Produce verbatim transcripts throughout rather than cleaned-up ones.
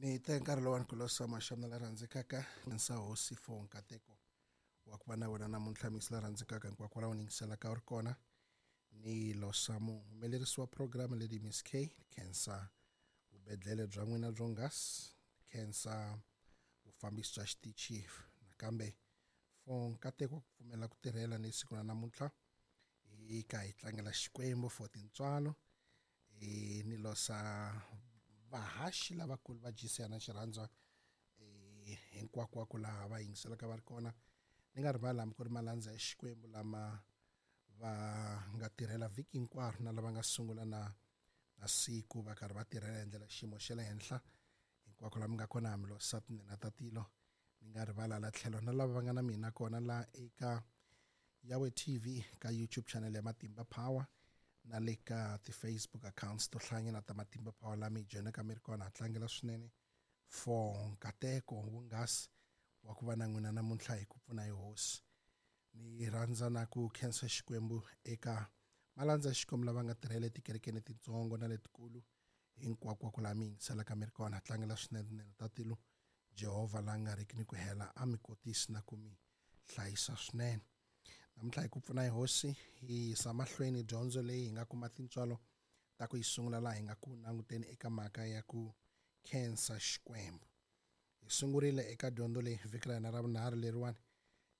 Ni te nkarhi lowani ku losa maxamna la rhandzekaka nsa hosi for nkateko wa ku va na wena namuntlha misi la rhandzekaka hinkwako la u yingiselaka u ri kona. Ni losa muhumelerisi wa program Lady Miss K, khensa vubedlele bya n'wina byo nghasi, khensa vufambisi bya xitichi nakambe for nkateko wa ku pfumela ku tirhela ni siku ra namuntlha hi ka hi tlangela Xikwembu for tintswalo. E ni losa vahaxi lavakulu va G C na xirhandzwa e hinkwakwako laha va yingiselaka va ri kona. Ni nga rivali hambi ku ri malandza ya Xikwembu lama va nga tirhela vhiki hinkwaro na lava nga sungula na na siku va karhi va tirhela hi ndlela xiyimo xa le henhla. Hinkwako la mi nga kona mi losa tinene ta tilo. Ni nga rivala la tlhelo na lava va nga na mina kona la eka Yahweh T V ka YouTube channel ya Matimba Power na le ka ti-Facebook accounts to hlayanyana ta Matimba Power la mi joyinaka mi ri kona. Ha tlangela swinene for nkateko wonghasi wa ku va na n'wina namuntlha hi ku pfuna hi hosi. Ni rhandza na ku khensa Xikwembu eka malandza ya Xikwembu lava nga tirhela etikerekeni letitsongo na letikulu hinkwako laha mi yingiselaka mi ri kona. Ha tlangela swinene tinene ta tilo. Jehovha la nga riki ni ku hela a mi kotisi na ku mi hlayisa swinene. Namuntlha hi ku pfuna hi hosi hi yisa mahlweni dyondzo leyi hi nga kuma tintswalo ta ku yi sungula laha hi nga ku languteni eka mhaka ya ku khensa Xikwembu. Hi sungurile eka dyondzo leyi vhiki ra hina ra vunharhu leriwani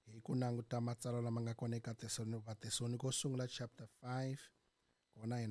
hi ku languta matsalwa lama nga kona eka Vatesaloniko sungula chapter five kona hi.